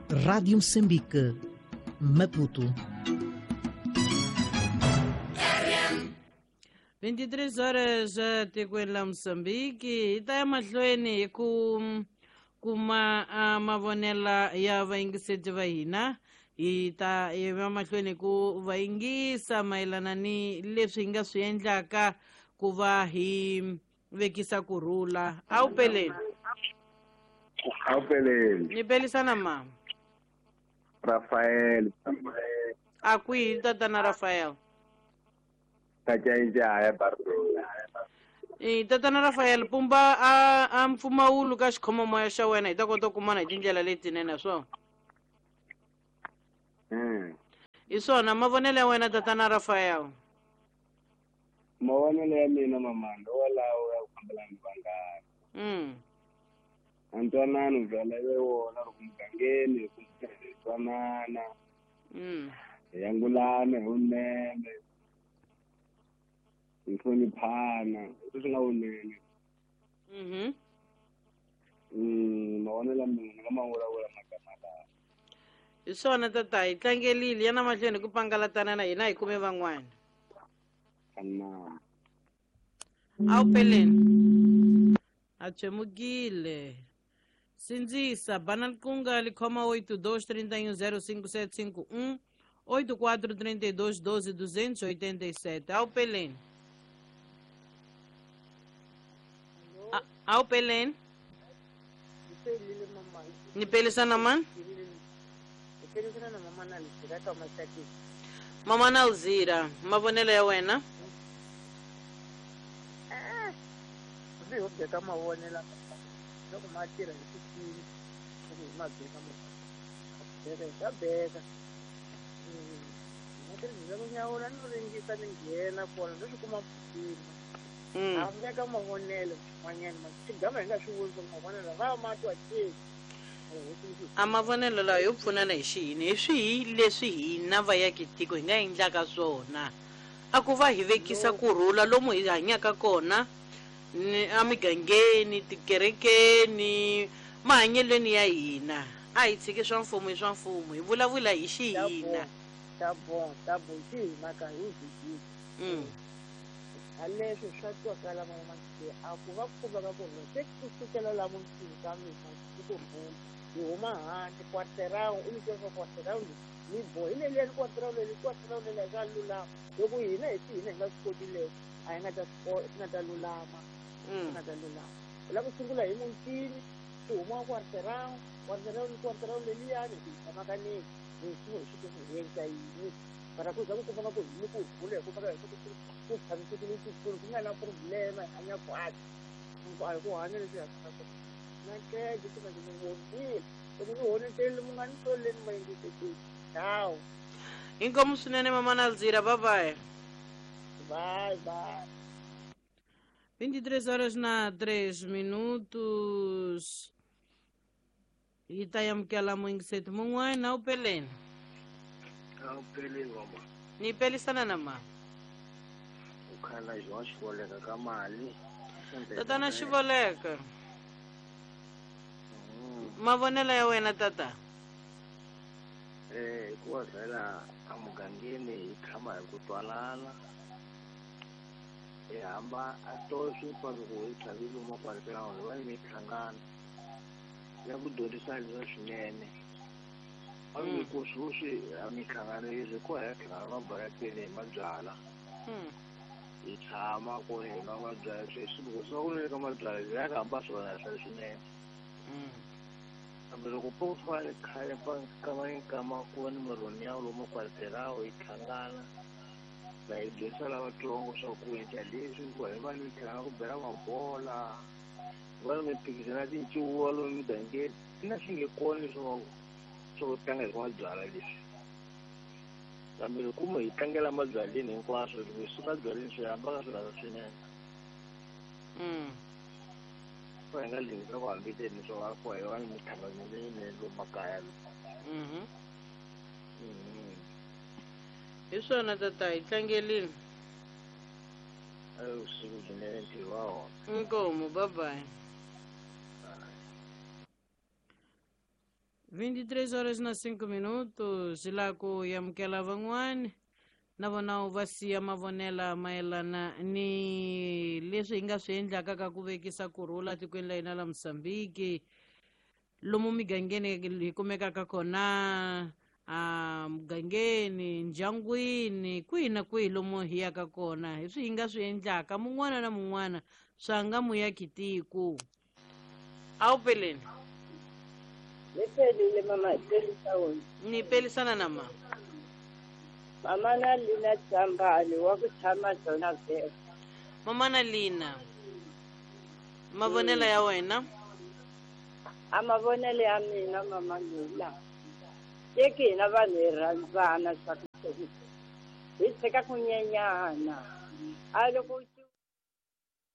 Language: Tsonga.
Rádio Moçambique, Maputo. 23 horas tikweni la Mozambique hi ta ya mahlweni hi ku kuma mavonela ya vayingiseti va hina hi ta ya mahlweni ku va yingisa mayelana ni leswi hi nga swi endlaka ku va hi vekisa kurhula. A wu peleni. A wu peleni. Ni pelisana mama. Rafael. A kwihi tatana Rafael? Tatana Rafael, pumba a mpfumawulo ka xikhomomoya xa wena hi ta kota ku kumana hi tindlela letinene swona. Hi swona mavonelo ya wena tatana Rafael. Mavonelo ya mina mamando walawo ya ku fambelana ni vanghana. Ntwanano byala ve wona loko mugangeni hi twanana. Hi angulana hi vunene. Hi hloniphana leswi nga vunene. Mavonelo ya mina ni nga ma vulavula magama lawa. Hi swona tata, hi tlangelile ya na mahlweni ku pangalatana na hina hi kume van'wana. A wu peleni. A tshemukile. Sindzisa bana likunga likhoma 82 31 05 751 84 32 12 287. A wu peleni. A wu peleni. Ni pelisana mani? Mama na Alzira, mavonelo ya wena? Ndzi ho beka mavonelo loko ma tirha hi xikili, loko hi ma beka beka hi ta beka. Na tirhisa ku nyawula no ringisa ni nghena kona no swi kuma mpfuna. A veka mavonelo man'wanyana xigama hi nga swi vuli mavonelo va ma twa ke. A mavonelo lawa yo pfunana hi xiyini hi swihi leswi hina vayaki tiko hi nga endlaka swona a ku va hi vekisa kurhula lomu hi hanyaka kona emigangeni, tikerekeni, mahanyelweni ya hina. A hi tshiki swa mfumo hi swa mfumo, hi vulavula hi xihina. Ta bon, ta bon, xihina ka hi vhiki. A leswi swa twakala mama a ku va ku ka ku se ku sukela la muntini ka mina ku kurhula hi huma handle quarterão u nyike swa quarterão ni bo hi leliya quarterão leli quarterão leli swa lulama loko hina hi hina hi nga swi koti leswi a hi nga ta swi nga ta lulama nga ta lulama hi lava ku sungula hi muntini swi huma quarterão quarterão ni quarterão leliyani hi tshamaka ni hi swi hi swi hi endla yini mara ku za ku kuma ku hi ku rhula hi kuma hi ku tshamisekile tikulu ku nga na problema hi hanya kahle a hi ku hanya leswi hanyaka swona na keke ku nga ni vonile loko ni honetele mu nga ni toleni ma yingisekeli hawu. Inkomu swinene mama na Alzira, bye bye. Bye bye. 23 horas na 3 minutos. Hi ta amukela muyingiseti mun'wana. A wu peleni. A wu peleni mama. Ni pelisana na mama. U khala João Xivoleka ka mali. Tatana Xivoleka. Mavonelo ya wena tata? Hikuva vhela emugangeni hi tshama hi ku twanana. Hi hamba a to swi pa loko hi tlhavile makwalekela hi va ni mihlangano ya ku dyondzisa leswa swinene. A ni ku sweswi a mihlangano leswi ko hi hlangana mabarakeni hi mabyala. Hi tshama ku hi nwa mabyala sweswi loko swi va ku ni ka mabyala hi ya ka hamba swona swa swinene. Kambe loko po fane khale pa nkama nkama ku va ni murhoni ya lomu kwalekelawo hi hlangana na hi dyondzisa lavatsongo swa ku endla leswi hikuva hi va ni tlhela ku bela mabola va ni mimphikizano ya tincuva lomu migangeni na swi nge kona leswi swo tlanga hi mabyala leswi. Kambe loko mo hi tlangela mabyaleni hinkwaswo loko hi suka byaleni swi hamba ka swona swinene. Hi nga lingi ku hambeteni swo va ku hi va ni mihlangano leyinene lomu makaya. Hi swona tata, hi tlangelile. Vusiku byinene ntirho wa wona. Inkomu, bye bye. 23 horas na 5 minutos la ku amukela van'wani na vona u va siya mavonela mayelana ni leswi hi nga swi endlaka ka ku vekisa kurhula tikweni la hina la Mozambique, lomu migangeni hi kumekaka kona, a mugangeni, ndyangwini, kwihi na kwihi lomu hi yaka kona, hi swi hi nga swi endlaka mun'wana na mun'wana swa nga muyaki tiko. A wu peleni? Ni pelile mama, hi pelisa wena. Ni pelisana na ma mama na Lina Tsambali wa ku tshama Zona Veka. Mama na Lina, mavonelo ya wena? A mavonelo ya mina mama Lila, teki hina vanhu hi rhandzana swa ku hi tshika ku nyenyana. A loko